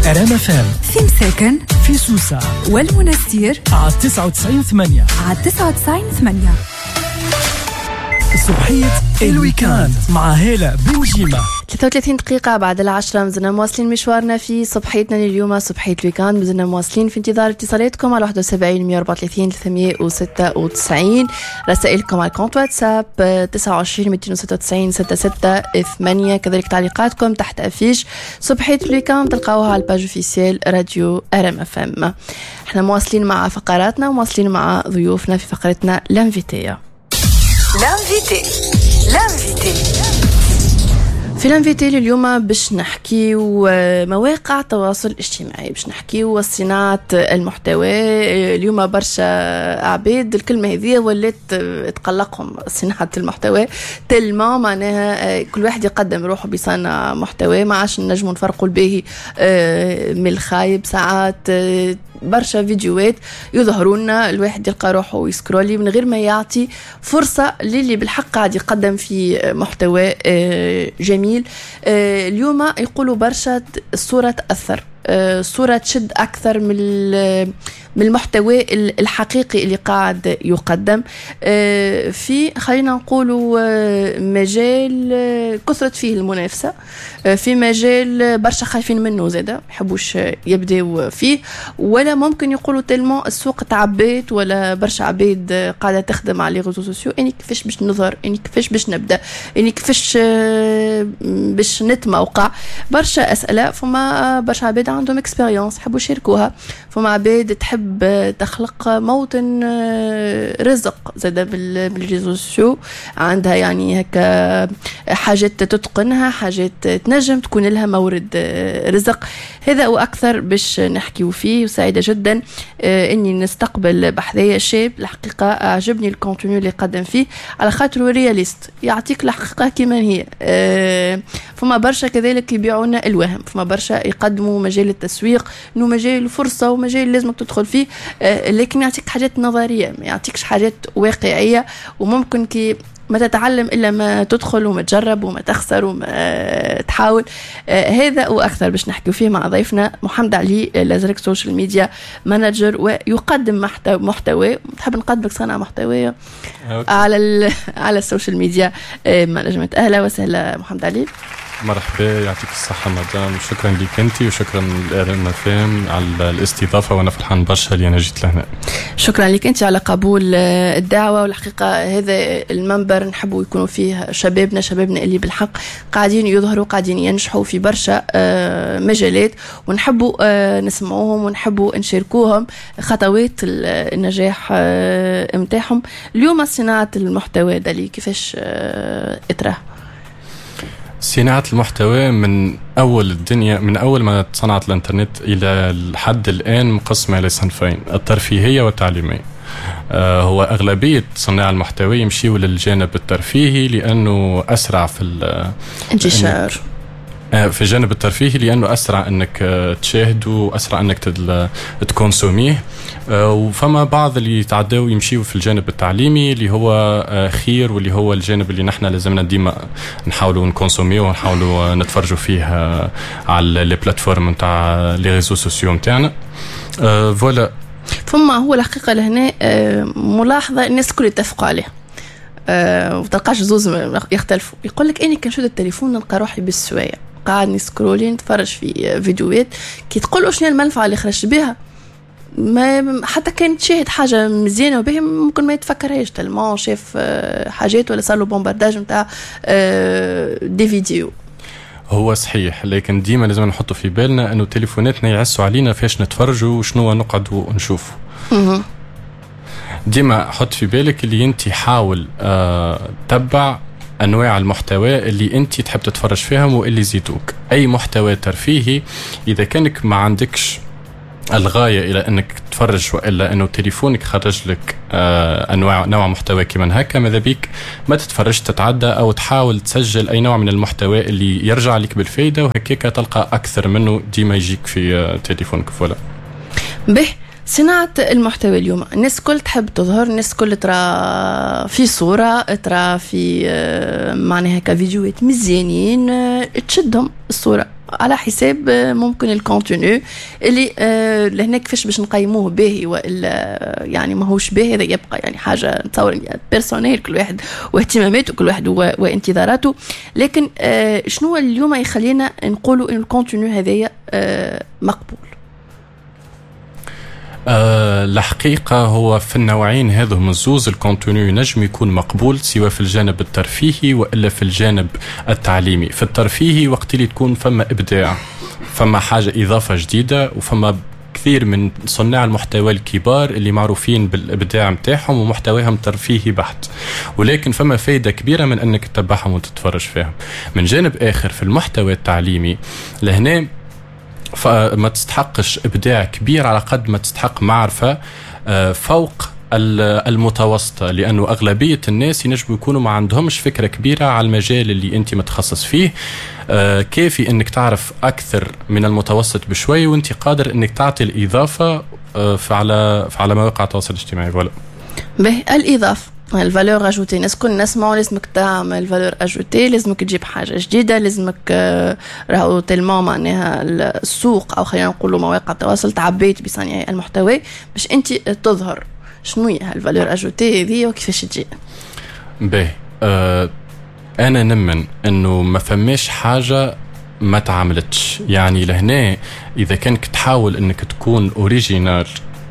ار ام اف ام في مساكن، في سوسة والمنستير على 99.8، على 99.8. صبحية ال week-end مع هالة بنجيمة. 33 دقيقة بعد 10، مازلنا مواصلين مشوارنا في صبحيتنا لليوم، صبحية ال week-end. مازلنا مواصلين في انتظار اتصالاتكم على 71 134 396، رسائلكم على compte واتساب 29 296 66 8، كذلك تعليقاتكم تحت affiche صبحية ال week-end تلقاوها على ال page officielle راديو ار ام اف ام. احنا مواصلين مع فقراتنا ومواصلين مع ضيوفنا في فقرتنا l'invité. l'invité، l'invité. في l'invité اليوم باش نحكيو مواقع التواصل الاجتماعي، باش نحكيو صناعة المحتوى. اليوم برشا عباد الكلمة هذه ولات تقلقهم، صناعة المحتوى، tellement معناها كل واحد يقدم روحه بصنع محتوى، ما عادش نجموا نفرقوا الباهي من الخايب. ساعات برشا فيديوهات يظهروا لنا، الواحد يلقى روحه يسكرولي من غير ما يعطي فرصة للي بالحق قاعد يقدم في محتوى جميل. اليوم يقولوا برشا الصورة تأثر، الصورة تشد أكثر من المحتوى الحقيقي اللي قاعد يقدم. في خلينا نقولوا مجال كثرت فيه المنافسة، في مجال برشا خايفين منه زاده، ما يحبوش يبداو فيه، ولا ممكن يقولوا tellement السوق تعبيت ولا برشا عباد قاعدة تخدم على les réseaux sociaux، اني كيفاش باش نظهر، اني كيفاش باش نبدا، اني كيفاش باش نتموقع. برشا اسئله. فما برشا عباد عندهم expérience يحبوا يشاركوها، فما عباد تحب تخلق موطن رزق زاده بال réseaux sociaux، عندها يعني هكا حاجات تتقنها، حاجات تنجم تكون لها مورد رزق. هذا واكثر باش نحكيو فيه، وسعيدة جدا اني نستقبل بحذايا شاب الحقيقة عجبني ال contenu اللي قدم فيه على خاطر réaliste، يعطيك الحقيقة كما هي. فما برشا كذلك يبيعون الوهم، فما برشا يقدموا مجال التسويق انه مجال فرصة ومجال لازمك تدخل فيه، لكن يعطيك حاجات نظريه، ما يعطيكش حاجات واقعيه، وممكن كي ما تتعلم الا ما تدخل وما تجرب وما تخسر وما تحاول. هذا واكثر باش نحكيو فيه مع ضيفنا محمد علي الازرق، social media manager ويقدم محتوى. تحب نقدمك صانع محتوى على ال social media management. اهلا وسهلا محمد علي. مرحبا، يعطيك الصحة مدام، شكرا لك انت وشكرا للار ام على الاستضافة، وانا فرحان برشا اللي انا جيت لهنا. شكرا لك انت على قبول الدعوة، والحقيقة هذا المنبر نحبوا يكونوا فيه شبابنا، شبابنا اللي بالحق قاعدين يظهروا، قاعدين ينجحوا في برشا مجالات، ونحبوا نسمعوهم ونحبوا نشاركوهم خطوات النجاح متاعهم. اليوم صناعة المحتوى دالي كيفاش اتراه؟ صناعة المحتوى من أول الدنيا، من أول ما صنعت الإنترنت إلى الحد الآن، مقسمة إلى صنفين: الترفيهية والتعليمية. هو أغلبية صناع المحتوى يمشيوا للجانب الترفيهي لأنه أسرع في انتشار. في الجانب الترفيهي لانه اسرع انك تشاهده واسرع انك تكونسوميه، وفما بعض اللي يتعداو يمشيو في الجانب التعليمي اللي هو خير، واللي هو الجانب اللي نحن لازمنا ديما نحاولوا نكونسوميه ونحاولوا نتفرجوا فيه على les plateformes نتاع les réseaux sociaux نتاعنا، voilà. فما هو الحقيقة لهنا ملاحظة الناس الكل يتفقوا عليها، وتلقاش زوز يختلفوا. يقول لك اني كنشد التليفون نلقى روحي بالسوايع قاعد نسكرولي نتفرج في فيديوهات، كي تقول شنو المنفعة اللي خرجت بها، ما حتى كان تشاهد حاجة مزيانه وباهيه ممكن ما يتفكرهاش tellement شاف حاجات ولا صار له bombardage نتاع des vidéos. هو صحيح، لكن ديما لازم نحطوا في بالنا انه تليفوناتنا يعسوا علينا فاش نتفرجوا وشنو نقعدوا نشوفوا. ديما حط في بالك اللي انت حاول تبع انواع المحتوى اللي انت تحب تتفرج فيهم واللي يزيدوك. اي محتوى ترفيهي، اذا كانك ما عندكش الغاية الى انك تتفرج والا انه تليفونك خرج لك انواع نوع محتوى كيما هكا، ماذا بيك ما تتفرجش، تتعدى او تحاول تسجل اي نوع من المحتوى اللي يرجع لك بالفايده، وهكاك تلقى اكثر منه ديما يجيك في تليفونك، voilà. به، صناعة المحتوى اليوم الناس كل تحب تظهر، الناس كل ترى في صورة، ترى في معناها كفيديوهات مزيانين، تشدهم الصورة. على حساب ممكن ال contenu اللي لهنا كيفاش باش نقيموه باهي والا يعني ماهوش باهي، هذا يبقى يعني حاجة نتصور personnelle، كل واحد واهتماماته، كل واحد وانتظاراته. لكن شنو اليوم يخلينا نقولوا ان ال contenu هذايا مقبول؟ الحقيقة هو في النوعين هذو الزوز ال contenu ينجم يكون مقبول، سواء في الجانب الترفيهي وإلا في الجانب التعليمي. في الترفيهي وقت اللي تكون فما إبداع، فما حاجة إضافة جديدة، وفما كثير من صناع المحتوى الكبار اللي معروفين بالإبداع متاعهم ومحتواهم ترفيهي بحت، ولكن فما فايدة كبيرة من أنك تتبعهم وتتفرج فيهم. من جانب آخر في المحتوى التعليمي لهنا فما تستحقش إبداع كبير على قد ما تستحق معرفة فوق المتوسطة، لأنه أغلبية الناس ينجموا يكونوا ما عندهمش فكرة كبيرة على المجال اللي أنت متخصص فيه. كافي أنك تعرف أكثر من المتوسط بشوي، وأنت قادر أنك تعطي الإضافة على مواقع التواصل الاجتماعي. ولا به الإضافة، ال valeur ajoutée، الناس كل نسمعوا لازمك تعمل valeur ajoutée، لازمك تجيب حاجة جديده، لازمك راهو tellement معناها السوق او خلينا نقولوا مواقع التواصل تعبيت بصانعي المحتوى باش انت تظهر. شنو هي ال valeur ajoutée هذه وكيفاش تجي؟ باهي، انا نمن انه ما فماش حاجة ما تعملتش. يعني لهنا اذا كانك تحاول انك تكون original،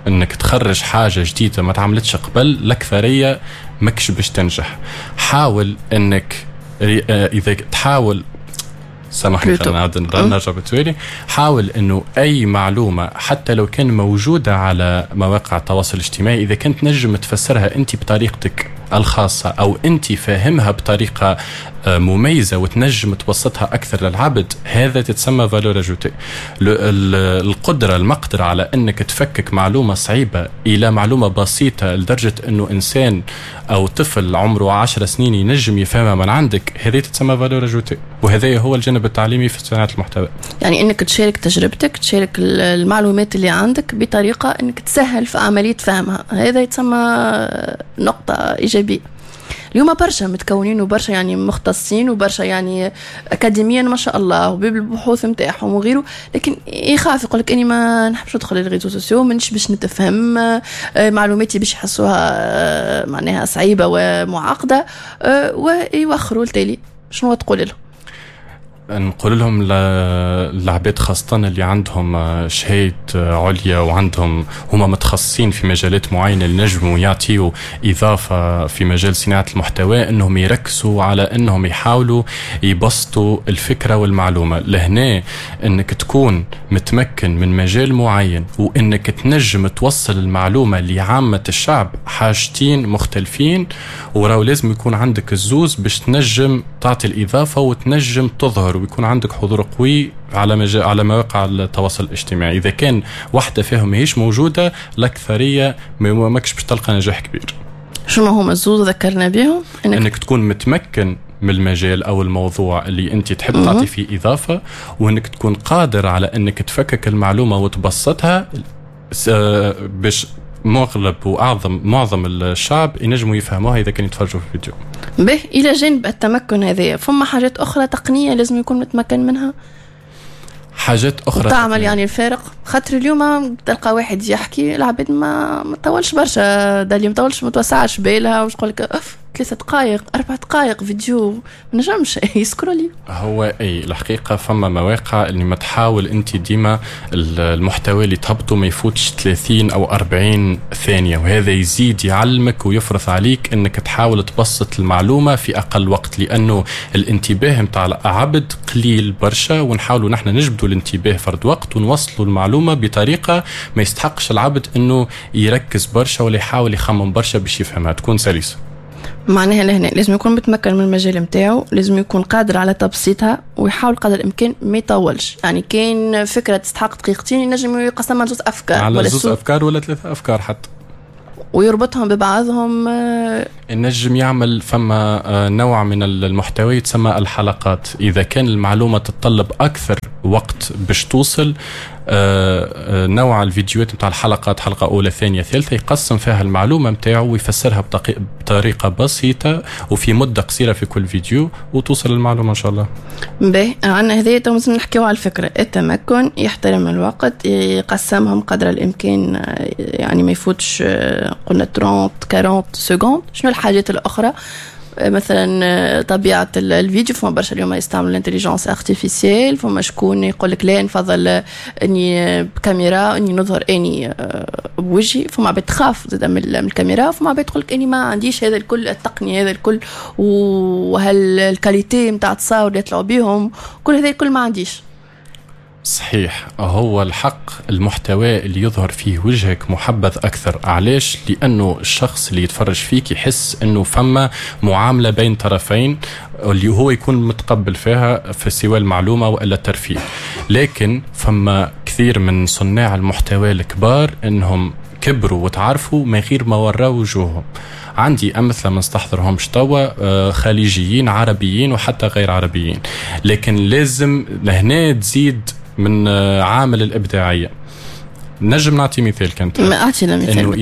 انك تخرج حاجة جديدة ما تعملتش قبل، الاكثرية ماكش باش تنجح. حاول انك اذا تحاول، سامحني نرجع بالتوالي، حاول انه اي معلومة حتى لو كان موجودة على مواقع التواصل الاجتماعي، اذا كنت نجم تفسرها انت بطريقتك الخاصة او انت فاهمها بطريقة مميزة وتنجم تبسطها اكثر للعبد، هذا تتسمى valeur ajoutée. القدرة المقدرة على انك تفكك معلومة صعيبة الى معلومة بسيطة لدرجة انه انسان او طفل عمره 10 سنين ينجم يفهمها من عندك، هذه تتسمى valeur ajoutée. وهذا هو الجانب التعليمي في صناعة المحتوى. يعني انك تشارك تجربتك، تشارك المعلومات اللي عندك بطريقة انك تسهل في عملية فهمها، هذا يتسمى نقطة ايجابية. اليوم برشا متكونين وبرشا يعني مختصين وبرشا يعني اكاديميا ما شاء الله وبالبحوث نتاعهم وغيره، لكن يخاف يقول لك اني ما نحبش ندخل les réseaux sociaux، مانيش باش نتفهم، معلوماتي باش يحسوها معناها صعيبة ومعقدة، ويوخروا التالي. شنو تقول لهم؟ نقول لهم العباد خاصة اللي عندهم شهادة عليا وعندهم هما متخصصين في مجالات معينة اللي نجموا يعطيوا إضافة في مجال صناعة المحتوى، أنهم يركزوا على أنهم يحاولوا يبسطوا الفكرة والمعلومة. لهنا أنك تكون متمكن من مجال معين وأنك تنجم توصل المعلومة لعامة الشعب حاجتين مختلفين، وراو لازم يكون عندك الزوز باش تنجم تعطي الإضافة وتنجم تظهر ويكون عندك حضور قوي على مواقع التواصل الاجتماعي. إذا كان واحدة فيهم ماهيش موجودة، الأكثرية ماكش باش تلقى نجاح كبير. شنو هما الزوز ذكرنا بهم؟ إنك تكون متمكن من المجال أو الموضوع اللي أنت تحب تعطي فيه إضافة، وإنك تكون قادر على إنك تفكك المعلومة وتبسطها باش مغلب وأعظم معظم الشعب ينجموا يفهموها إذا كانوا يتفرجوا في الفيديو. به إلى جانب التمكن هذا، فما حاجات أخرى تقنية لازم يكون متمكن منها؟ حاجات أخرى تعمل يعني الفارق، خاطر اليوم تلقى واحد يحكي العباد ما طولش برشا، دالي ما طولش، ما توسعش بالها، وش تقول لك اف 3 دقائق 4 دقائق فيديو ما نجمش يسكرولي. هو اي الحقيقة فما مواقع اللي ما تحاول انت ديما المحتوى اللي تهبطه ما يفوتش 30 او 40 ثانية، وهذا يزيد يعلمك ويفرض عليك انك تحاول تبسط المعلومة في اقل وقت، لانه الانتباه نتاع العبد قليل برشا، ونحاولوا نحن نجبدوا الانتباه فرد وقت ونوصلوا المعلومة بطريقة ما يستحقش العبد انه يركز برشا ولا يحاول يخمم برشا باش يفهمها، تكون سلسه. معناها لهنا لازم يكون متمكن من المجال نتاعو، لازم يكون قادر على تبسيطها ويحاول قدر الامكان ما يطولش. يعني كاين فكرة تستحق دقيقتين ينجم يقسمها لزوج افكار، على زوج افكار ولا 3 افكار حتى، ويربطهم ببعضهم. النجم يعمل فما نوع من المحتوى يتسمى الحلقات. إذا كان المعلومة تتطلب أكثر وقت باش توصل. نوع الفيديوهات نتاع الحلقات، حلقة أولى ثانية ثالثة، يقسم فيها المعلومة نتاعو ويفسرها بطريقة بسيطة وفي مدة قصيرة في كل فيديو، وتوصل المعلومة إن شاء الله. باهي، عندنا هذه تو نحكيو على الفكرة، التمكن، يحترم الوقت، يقسمهم قدر الإمكان، يعني ما يفوتش قلنا 30 40 secondes. شنو الحاجات الأخرى؟ مثلا طبيعة الفيديو، فما برشا اليوم يستعملوا l'intelligence artificielle، فما شكون يقول لك لا نفضل اني بكاميرا، اني نظهر اني بوجهي، فما عباد تخاف زاد من الكاميرا، فما عباد تقول لك اني ما عنديش هذا الكل، التقنية هذا الكل وهال qualité نتاع التصاور اللي يطلعوا بيهم، كل هذا الكل ما عنديش. صحيح، هو الحق المحتوى اللي يظهر فيه وجهك محبذ أكثر. علاش؟ لأنه الشخص اللي يتفرج فيك يحس أنه فما معاملة بين طرفين اللي هو يكون متقبل فيها في سواء المعلومة وإلا الترفيه. لكن فما كثير من صناع المحتوى الكبار أنهم كبروا وتعرفوا من غير ما وراوا وجوههم. عندي أمثلة ما نستحضرهمش توا، خليجيين، عربيين، وحتى غير عربيين. لكن لازم لهنا تزيد من عامل الإبداعية. نجم نعطي مثال، كانت أعطينا مثال. إنه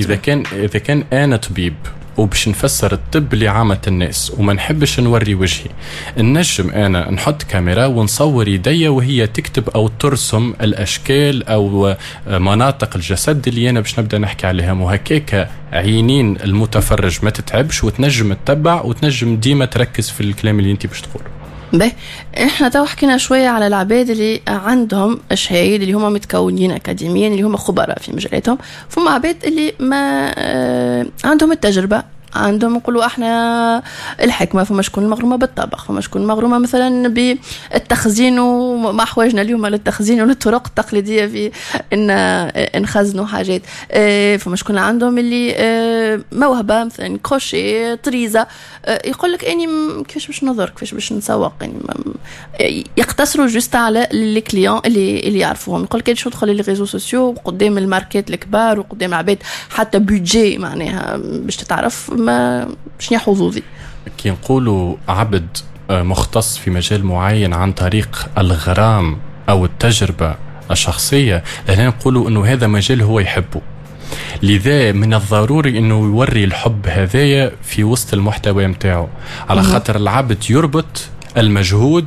إذا كان أنا طبيب وباش نفسر الطب لعامة الناس وما نحبش نوري وجهي، نجم أنا نحط كاميرا ونصور يدي وهي تكتب أو ترسم الأشكال أو مناطق الجسد اللي أنا باش نبدأ نحكي عليها، وهكاك عينين المتفرج ما تتعبش وتنجم تتبع وتنجم ديما تركز في الكلام اللي أنت باش تقوله. باهي، احنا تو حكينا شوية على العباد اللي عندهم شهايد، اللي هما متكونين اكاديميا، اللي هما خبراء في مجالاتهم. فما عباد اللي ما عندهم التجربة، عندهم نقولوا احنا الحكمة، فما شكون مغرومه بالطبخ، فما شكون مغرومه مثلا بالتخزين، وما حواجنا اليوم للتخزين وللطرق التقليدية في ان نخزنوا حاجات. فما شكون عندهم اللي موهبة مثلا كروشيه، طريزه، يقول لك اني كيفاش باش نظهر، كيفاش باش نسوق، يعني يقتصروا juste على les clients اللي يعرفوهم. يقول لك باش ندخل les réseaux sociaux قدام الماركات الكبار وقدام العباد، حتى budget معناها باش تتعرف ما شنو حظوظي. كي نقولوا عبد مختص في مجال معين عن طريق الغرام او التجربة الشخصية، لهنا نقولوا انه هذا مجال هو يحبه، لذا من الضروري انه يوري الحب هذايا في وسط المحتوى متاعه، على خاطر العبد يربط المجهود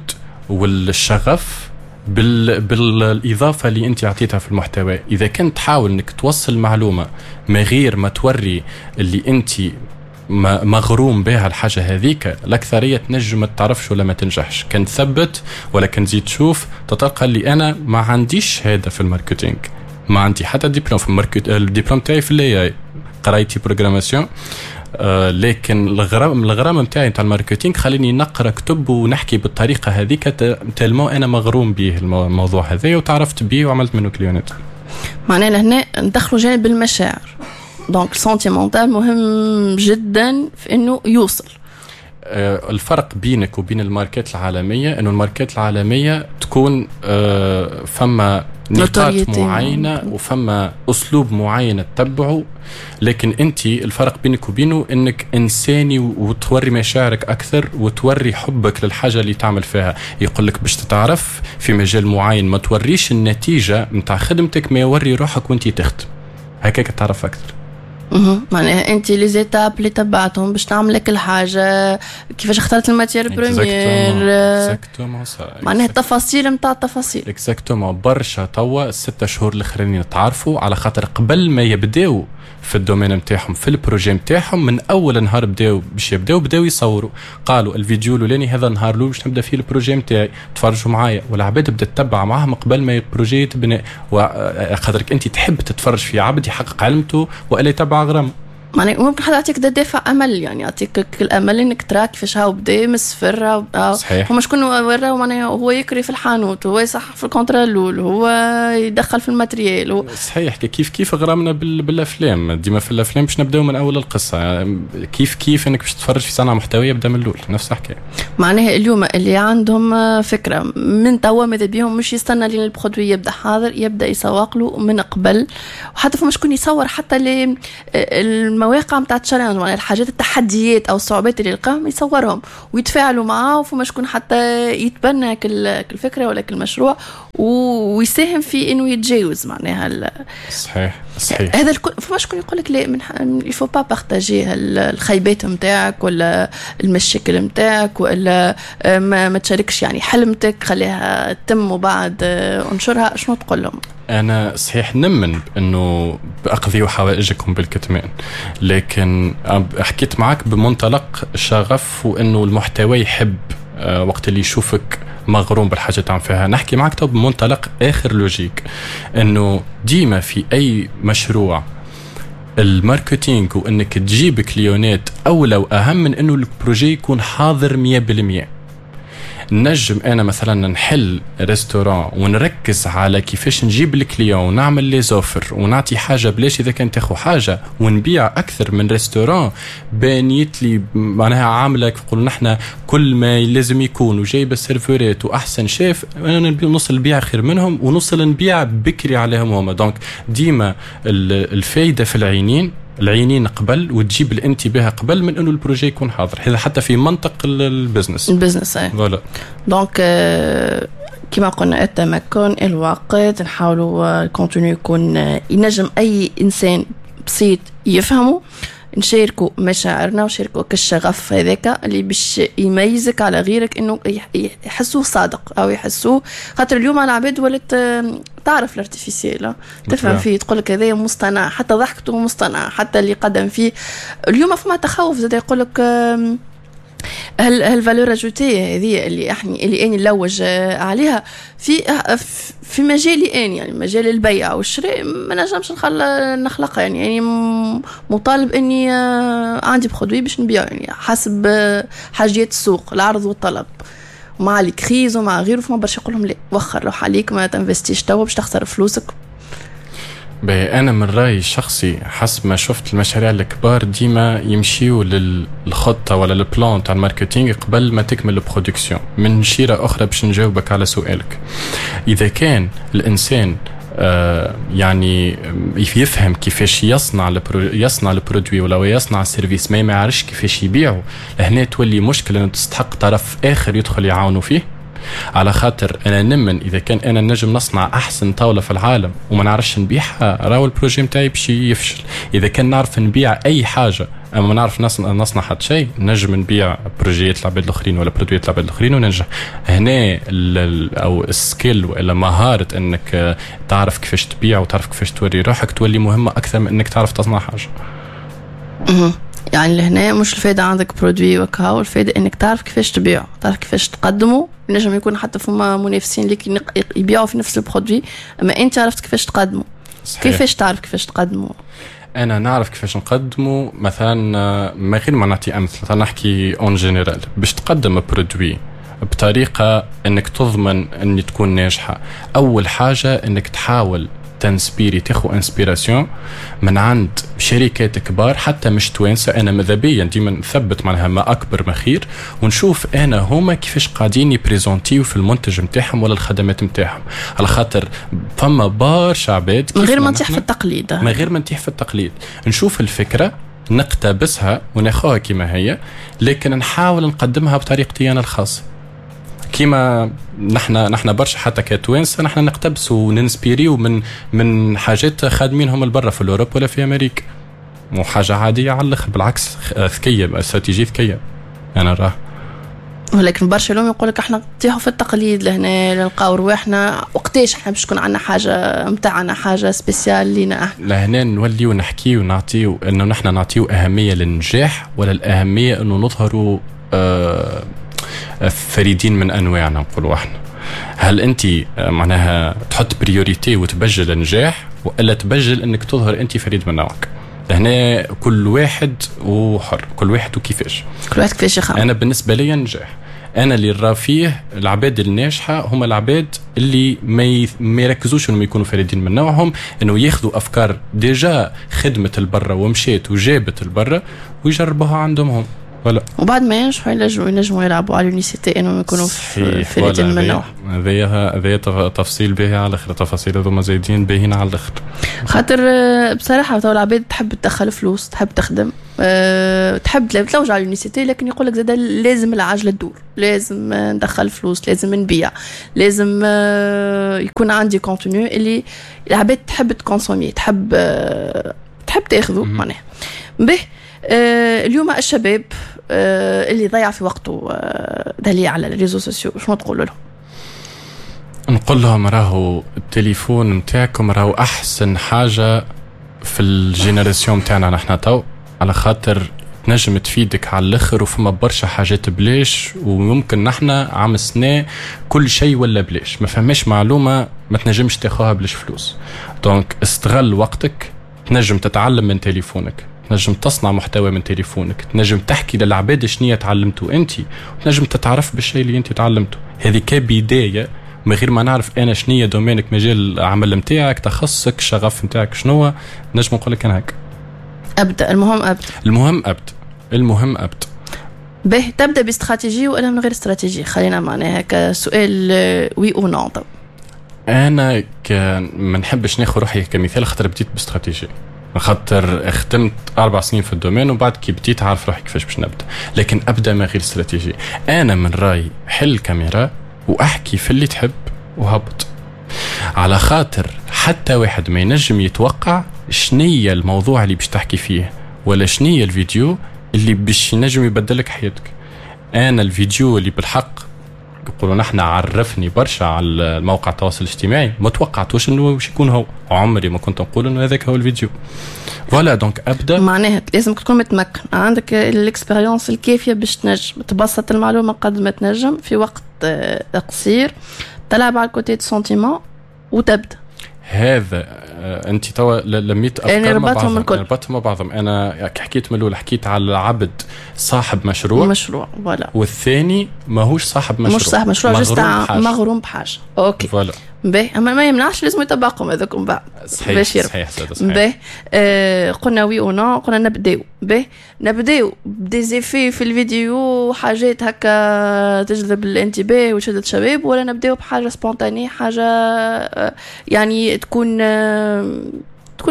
والشغف بالإضافة اللي أنت عطيتها في المحتوى. إذا كنت تحاول أنك توصل معلومة ما غير ما توري اللي أنت مغروم بها الحاجة هذيك، الأكثرية تنجم ما تعرفش ولا ما تنجحش. كان تثبت ولا كان تزيد تشوف تتلقى اللي أنا ما عنديش شهادة في ال marketing، ما عندي حتى دبلوم في ال market، الدبلوم تاعي في ال AI، قرايتي programmation، لكن الغرام نتاعي نتاع ال marketing خليني نقرا كتب ونحكي بالطريقة هذيك، tellement انا مغروم به الموضوع هذا وتعرفت به وعملت منه كليونات. معناها لهنا ندخلوا جانب المشاعر، donc sentimental مهم جدا في انه يوصل. الفرق بينك وبين الماركات العالمية انه الماركات العالمية تكون فما نقاط معينة وفما أسلوب معين تتبعه، لكن أنت الفرق بينك وبينه أنك إنساني وتوري مشاعرك أكثر وتوري حبك للحاجة اللي تعمل فيها. يقول لك باش تتعرف في مجال معين ما توريش النتيجة متاع خدمتك، ما يوري روحك وأنت تخدم، هكاك تعرف أكثر. معناها انت les étapes اللي تبعتهم باش تعمل لك الحاجة، كيفاش اخترت ال matière première، معناها التفاصيل نتاع التفاصيل. exactement. برشا توا 6 شهور الاخرين تعرفوا على خاطر قبل ما يبداو في ال domaine نتاعهم في ال projet نتاعهم، من اول نهار بداو باش يبداو بداو يصوروا، قالوا الفيديو الاولاني هذا النهار الاول باش نبدا فيه ال projet نتاعي، تفرجوا معايا، والعباد بدات تتبع معاهم قبل ما ال projet يتبنى. وخاطرك انت تحب تتفرج في عبد يحقق علمته والا يتبع غرامة. معناها ممكن حدا يعطيك دافع امل، يعني يعطيك الامل انك ترى كيفاش هاو بدا من الصفر. صحيح. هما شكون وراو معناها هو يكري في الحانوت، هو يصح في ال contrat الاول، هو يدخل في ال matériel صحيح. كيف كيف غرامنا بالافلام، ديما في الافلام باش نبداو من اول القصة، كيف كيف انك باش تتفرج في صنعه محتويه بدا من الاول، نفس الحكاية. معناها اليوم اللي عندهم فكرة من توا ماذا بيهم مش يستنى لين ال produit يبدا حاضر، يبدا يسوق له من قبل. وحتى فما شكون يصور حتى المواقع نتاع challenge، معناها الحاجات التحديات او الصعوبات اللي يلقاهم يصورهم ويتفاعلوا معاه، وفما شكون حتى يتبنى كل الفكرة ولا كل المشروع ويساهم في انه يتجاوز معناها. صحيح صحيح. هذا الكل فما شكون يقول لك لا، من il faut pas partager الخيبات نتاعك ولا المشاكل نتاعك، ولا ما تشاركش يعني حلمتك، خليها تتم وبعد انشرها. شنو تقول لهم؟ أنا صحيح نمن بأنه أقضيوا حوائجكم بالكتمان، لكن حكيت معك بمنطلق الشغف وأنه المحتوى يحب وقت اللي يشوفك مغروم بالحاجة تعمل فيها. نحكي معك تو بمنطلق آخر logique، أنه ديما في أي مشروع ال marketing وأنك تجيب client ات أولى وأهم من أنه ال projet يكون حاضر 100%. نجم انا مثلا نحل restaurant ونركز على كيفاش نجيب ال client ونعمل les offres ونعطي حاجة بلاش اذا كان تاخذ حاجة، ونبيع اكثر من restaurant بانيت لي معناها عامله كيف نقولوا نحن كل ما لازم يكون، وجايبه serveur ات واحسن شيف، انا نوصل نبيع خير منهم ونوصل نبيع بكري عليهم هما. donc ديما الفايدة في العينين، العينين قبل، وتجيب الانتباه قبل من انه ال projet يكون حاضر، هذا حتى في منطق ال business. ال business اي voilà. donc كما قلنا التمكن، الوقت، نحاولوا ال contenu يكون ينجم اي انسان بسيط يفهمه، نشاركوا مشاعرنا ونشاركوا كالشغف هذاك اللي باش يميزك على غيرك، انه يحسوه صادق او يحسوه، خاطر اليوم العباد ولات تعرف l'artificiel، تفهم فيه، تقول لك هذايا مصطنع، حتى ضحكته مصطنع، حتى اللي قدم فيه. اليوم فما تخوف زاد، يقول لك هل valeur ajoutée هذه اللي احنا اللي اني نلوج عليها في مجالي اني، يعني مجال البيع والشراء، ما نجمش نخلقها، يعني مطالب اني عندي produit باش نبيع، يعني حسب حاجيات السوق، العرض والطلب، مع ال crise ومع غيره. فما برشا يقول لهم لا، وخر روح عليك، ما تنفستيش توا باش تخسر فلوسك. باهي، انا من رايي الشخصي حسب ما شفت المشاريع الكبار ديما يمشيوا للخطه ولا ال plan تاع ال marketing قبل ما تكمل ال production. من شيره اخرى باش نجاوبك على سؤالك، اذا كان الانسان يعني يفهم كيفاش يصنع ال produit ولا يصنع ال service، ما يعرفش كيفاش يبيعه، لهنا تولي مشكلة انه تستحق طرف اخر يدخل يعاونه فيه. على خاطر انا نمن اذا كان انا نجم نصنع احسن طاولة في العالم وما نعرفش نبيعها، راهو ال projet نتاعي باش يفشل. اذا كان نعرف نبيع اي حاجة اما ما نعرف نصنع حتى شيء، نجم نبيع projet ات العباد الاخرين ولا produit ات العباد الاخرين وننجح. هنا او ال skill ولا مهارة انك تعرف كيفاش تبيع وتعرف كيفاش توري روحك تولي مهمة اكثر من انك تعرف تصنع حاجة. يعني لهنا مش الفايدة عندك produit وكهو، الفايدة انك تعرف كيفاش تبيعه، تعرف كيفاش تقدمه. نجم يكون حتى فما منافسين ليك يبيعوا في نفس ال produit، اما انت عرفت كيفاش تقدمه. صحيح. كيفاش تعرف كيفاش تقدمه؟ انا نعرف كيفاش نقدمه، مثلا ما غير ما نعطي امثلة، نحكي en général. باش تقدم produit بطريقة انك تضمن ان تكون ناجحة، اول حاجة انك تحاول تنسبيري، تاخو inspiration من عند شركات كبار حتى مش توانسه. انا ماذا بيا ديما نثبت معناها ما اكبر ما خير، ونشوف انا هما كيفاش قاعدين يبريزونتيو في المنتج نتاعهم ولا الخدمات نتاعهم، على خاطر فما برشا عباد من غير ما نطيح في التقليد، من غير ما نطيح في التقليد، نشوف الفكرة نقتبسها وناخوها كما هي، لكن نحاول نقدمها بطريقتي انا الخاصة. كيما نحن برشا حتى كتوانسه نحن نقتبسوا وننسبيريو من حاجات خادمينهم البرا في l'Europe ولا في امريكا، مو حاجة عادية على الاخر، بالعكس ذكية، استراتيجية ذكية انا راه. ولكن برشا اليوم يقول لك احنا نطيحوا في التقليد، لهنا نلقاو رواحنا وقتاش احنا باش تكون عندنا حاجة نتاعنا، حاجة spéciale لينا احنا. لهنا نوليو نحكيو ونعطيو انه نحن نعطيو اهمية للنجاح ولا الاهمية انه نظهروا فريدين من انواعنا نقولوا احنا. هل انت معناها تحط priorité وتبجل النجاح والا تبجل انك تظهر انت فريد من نوعك؟ لهنا كل واحد وحر، كل واحد وكيفاش، كل واحد كيفاش يخمم. انا بالنسبة لي النجاح انا اللي راه فيه العباد الناجحة هم العباد اللي ما يركزوش انهم يكونوا فريدين من نوعهم، انه ياخذوا افكار déjà خدمة البرة ومشيت وجابت البرة ويجربوها عندهم هم. voilà. وبعد ما ينجحوا ينجموا يلعبوا على l'unicité، انهم يكونوا في الاثنين من النوع. هذايا تفصيل باهي على الاخر، التفاصيل هذوما زايدين باهيين على الاخر. خاطر بصراحة تو العباد تحب تدخل فلوس، تحب تخدم، تحب تلوج على l'unicité، لكن يقول لك زاد لازم العجلة تدور، لازم ندخل فلوس، لازم نبيع، لازم يكون عندي contenu اللي العباد تحب ت consommer، تحب تاخذه معناها. به اليوم الشباب اللي ضيع في وقته دليل على les réseaux sociaux، شنو تقول لهم؟ نقول لهم راهو التليفون نتاعكم راهو احسن حاجة في ال génération نتاعنا نحن تو، على خاطر تنجم تفيدك على الاخر، وفما برشا حاجات بلاش، وممكن نحن عام سنة كل شيء ولا بلاش، ما فماش معلومة ما تنجمش تاخوها بلاش فلوس. donc استغل وقتك، تنجم تتعلم من تليفونك، تنجم تصنع محتوى من تليفونك، تنجم تحكي للعباد شنية تعلمته انت، وتنجم تتعرف بالشيء اللي انت تعلمته. هذه كبداية، من غير ما نعرف انا شنية domaine ك، مجال العمل نتاعك، تخصصك، الشغف نتاعك شنو، نجم نقول لك انا هكا ابدا. المهم ابدا، المهم ابدا، المهم ابدا. به تبدا باستراتيجيه ولا من غير استراتيجية؟ خلينا معناها كسؤال oui ou non. انا ما نحبش ناخذ روحي كمثال، خاطر بديت باستراتيجيه، خاطر خدمت 4 سنين في ال domaine، وبعد كي بديت عارف روحي كيفاش باش نبدا. لكن ابدا من غير استراتيجية. انا من رايي حل كاميرا واحكي في اللي تحب وهبط، على خاطر حتى واحد ما ينجم يتوقع شنية الموضوع اللي باش تحكي فيه، ولا شنية الفيديو اللي باش ينجم يبدلك حياتك. انا الفيديو اللي بالحق يقولوا نحن عرفني برشا على الموقع التواصل الاجتماعي، ما توقعتوش انه باش يكون هو، عمري ما كنت نقول انه هذاك هو الفيديو. voilà donc ابدا، معناها لازم تكون متمكن، عندك l'expérience الكافيه باش تنجم تبسط المعلومة قد ما تنجم في وقت قصير، تلعب على ال côté sentiment وتبدا. هذا انت توا لميت افكار يعني مع ربطهم بعضهم، الكل. ربطهم مع بعضهم. انا حكيت من الاول، حكيت على العبد صاحب مشروع، مشروع voilà، والثاني ماهوش صاحب مشروع، مش صاحب مشروع، juste مغروم بحاجة. OK voilà. باهي، اما ما يمنعش لازم يطبقهم هذوك من بعد. صحيح صحيح صحيح. باهي قلنا oui ou non، قلنا نبداو. باهي نبداو ب des effets في الفيديو، حاجات هكا تجذب الانتباه وتشد الشباب، ولا نبداو بحاجة spontanée، حاجة يعني تكون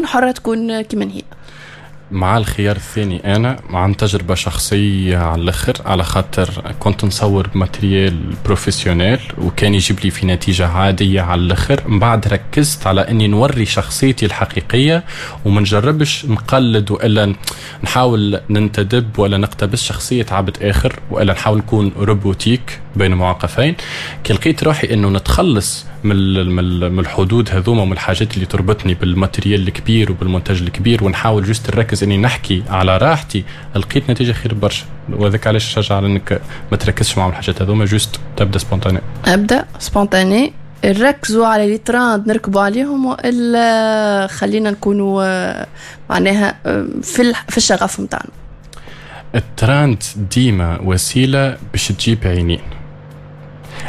حره، تكون كيما هي؟ مع الخيار الثاني. انا عن تجربه شخصية على الاخر، على خاطر كنت نصور ب matériel professionnel وكان يجيب لي في نتيجة عادية على الاخر. من بعد ركزت على اني نوري شخصيتي الحقيقية وما نجربش نقلد والا نحاول ننتدب ولا نقتبس شخصية عبد اخر والا نحاول نكون robotique بين معقفين. كي لقيت روحي انه نتخلص من الحدود هذوما ومن الحاجات اللي تربطني بال matériel الكبير وبالمونتاج الكبير، ونحاول juste نركز اني نحكي على راحتي، لقيت نتيجة خير برشا. وهذاك علاش نشجع على انك ما تركزش معهم الحاجات هذوما، juste تبدا spontané. ابدا spontané، نركزوا على les trends نركبوا عليهم، والا خلينا نكونوا معناها في الشغف نتاعنا؟ الترند ديما وسيلة باش تجيب عينين،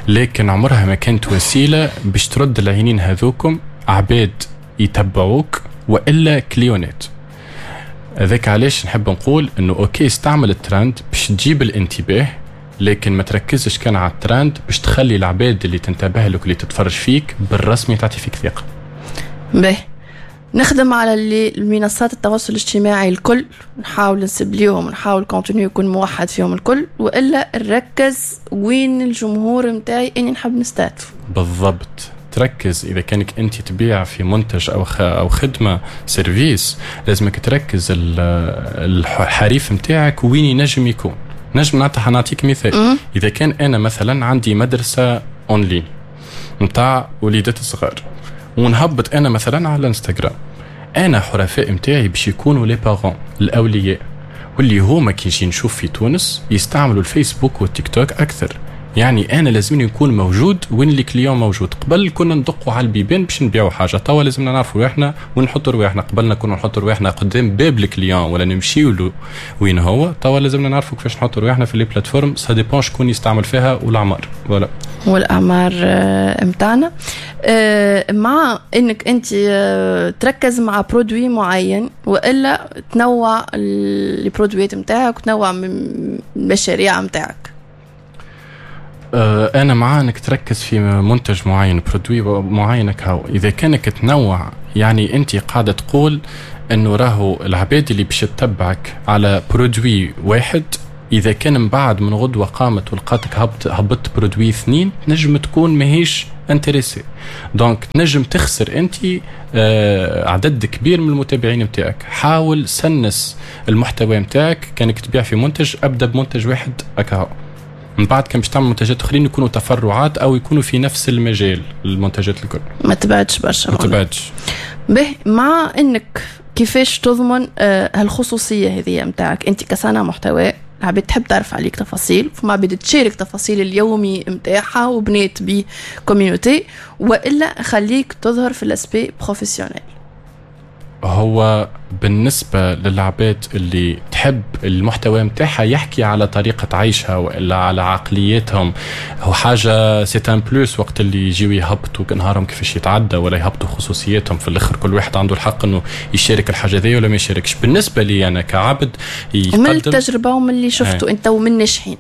لكن عمرها ما كانت وسيلة باش ترد العينين هذوكم عباد يتبعوك والا client ات. هذاك علاش نحب نقول انه OK استعمل الترند باش تجيب الانتباه، لكن ما تركزش كان على الترند باش تخلي العباد اللي تنتبه لك واللي تتفرج فيك بالرسمي تعطي فيك ثقة. باهي نخدم على اللي المنصات التواصل الاجتماعي الكل، نحاول نسبليهم، نحاول contenu يكون موحد فيهم الكل، والا نركز وين الجمهور نتاعي اني نحب نستهدف؟ بالضبط، تركز. اذا كانك انت تبيع في منتج او خدمة service، لازمك تركز الحريف نتاعك وين ينجم يكون. نجم نعطيك مثال. اذا كان انا مثلا عندي مدرسه en ligne نتاع وليدات الصغار، ونهبط انا مثلا على الانستغرام، انا حرفاء نتاعي باش يكونوا les parents، الاولياء، واللي هما كي نجي نشوف في تونس يستعملوا الفيسبوك والتيك توك اكثر. يعني انا لازمني نكون موجود وين ال client موجود. قبل كنا ندقوا على البيبان باش نبيعوا حاجه، توا لازمنا نعرفوا رواحنا ونحطوا رواحنا. قبلنا كنا نحطوا رواحنا قدام باب ال client ولا نمشيو له وين هو، توا لازمنا نعرفوا كيفاش نحطوا رواحنا في les plateformes. ça dépend شكون يستعمل فيها والاعمار. voilà والاعمار نتاعنا. مع انك انت تركز مع produit معين والا تنوع les produits نتاعك وتنوع من المشاريع نتاعك؟ انا مع انك تركز في منتج معين، produit معين كهو. اذا كانك تنوع، يعني انت قاعدة تقول انه راهو العباد اللي باش تتبعك على produit واحد، اذا كان من بعد من غدوه قامت ولقاتك هبطت produit اثنين، تنجم تكون ماهيش intéressée. donc تنجم تخسر انت عدد كبير من المتابعين نتاعك. حاول سنس المحتوى نتاعك. كانك تبيع في منتج، ابدا بمنتج واحد اكاهو، من بعد كان باش تعمل منتجات اخرين يكونوا تفرعات او يكونوا في نفس المجال المنتجات الكل. ما تبعدش برشا. ما تبعدش. به، مع انك كيفاش تضمن هالخصوصيه هذه نتاعك انت كصانع محتوى؟ العباد تحب تعرف عليك تفاصيل، فما عباد تشارك تفاصيل اليومي نتاعها وبنات ب communauté، والا خليك تظهر في l'aspect professionnel؟ هو بالنسبة للعباد اللي تحب المحتوى متاعها يحكي على طريقة عيشها وإلا على عقليتهم، هو حاجة c'est un plus وقت اللي يجيو يهبطوا نهارهم كيفاش يتعدى ولا يهبطوا خصوصياتهم. في الآخر كل واحد عنده الحق إنه يشارك الحاجة ذي ولا ما يشاركش. بالنسبة لي أنا كعبد يقدم، ومن التجربة ومن اللي شفته أنت ومن ناجحين.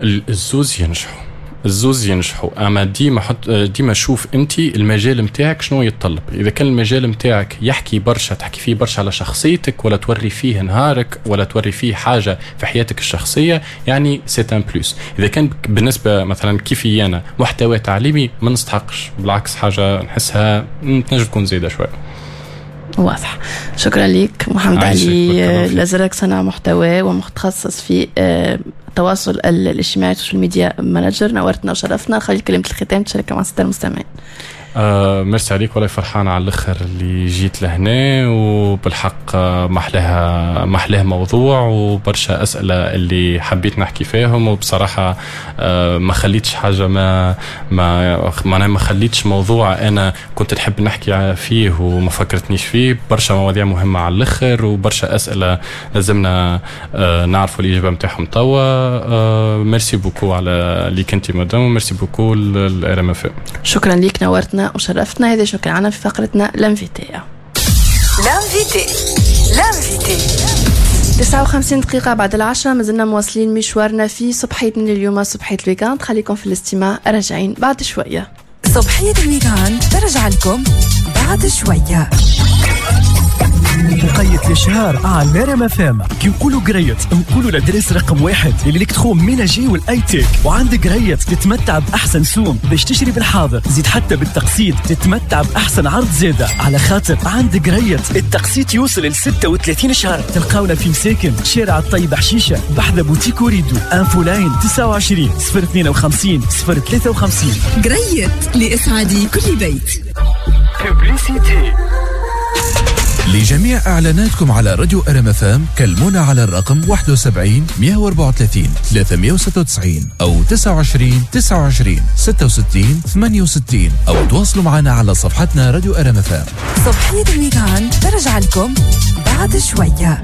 الزوز ينجحوا، الزوز ينجحوا، اما ديما حط، ديما شوف انت المجال نتاعك شنو يتطلب. اذا كان المجال نتاعك يحكي برشا، تحكي فيه برشا على شخصيتك ولا توري فيه نهارك ولا توري فيه حاجة في حياتك الشخصيه، يعني c'est un plus. اذا كان بالنسبة مثلا كيفي انا محتوى تعليمي، ما نستحقش، بالعكس حاجة نحسها تنجم تكون زايدة شويه. واضح. شكرا لك محمد علي الازرق، صانع محتوى ومتخصص في التواصل الاجتماعي، social media manager. نورتنا وشرفتنا. خلي كلمة الختام تشاركها مع السادة المستمعين. ميرسي عليك، والله فرحان على الاخر اللي جيت لهنا، وبالحق محلاها محلاه موضوع وبرشا اسئلة اللي حبيت نحكي فيهم، وبصراحة ما خليتش حاجه، ما ما معناها ما خليتش موضوع انا كنت نحب نحكي فيه وما فكرتنيش فيه. برشا مواضيع مهمة على الاخر وبرشا اسئلة لازمنا نعرفوا الاجابة نتاعهم توا. Merci beaucoup على اللي كنتي madame، و merci beaucoup ال RMF. شكرا لك، نورتنا وشرفتنا. هذا شكرا عنا في فقرتنا l'invité. l'invité، l'invité. 59 دقيقة بعد 10، مازلنا مواصلين مشوارنا في صبحيتنا اليوم، صبحية ال week-end. خليكم في الاستماع، راجعين بعد شوية. صبحية ال week-end ترجع لكم بعد شوية. وقيت الاشهار على RMF FM. كي نقولوا قريت نقولوا l'adresse رقم واحد لل électroménager وال high-tech، وعند قريت تتمتع باحسن سوم باش تشري بالحاضر، زيد حتى بالتقسيط تتمتع باحسن عرض زاده، على خاطر عند قريت التقسيط يوصل ل 36 شهر. تلقاونا في مساكن، شارع الطيب حشيشه، بحذا بوتيك وريدو. infoline 29 052 053. قريت لإسعاد كل بيت. Publicité. لجميع إعلاناتكم على راديو RMFM كلمونا على الرقم 71 134 396 أو 29 29 66 68 أو تواصلوا معنا على صفحتنا راديو RMFM. صبحية ال week-end ترجع لكم بعد شوية.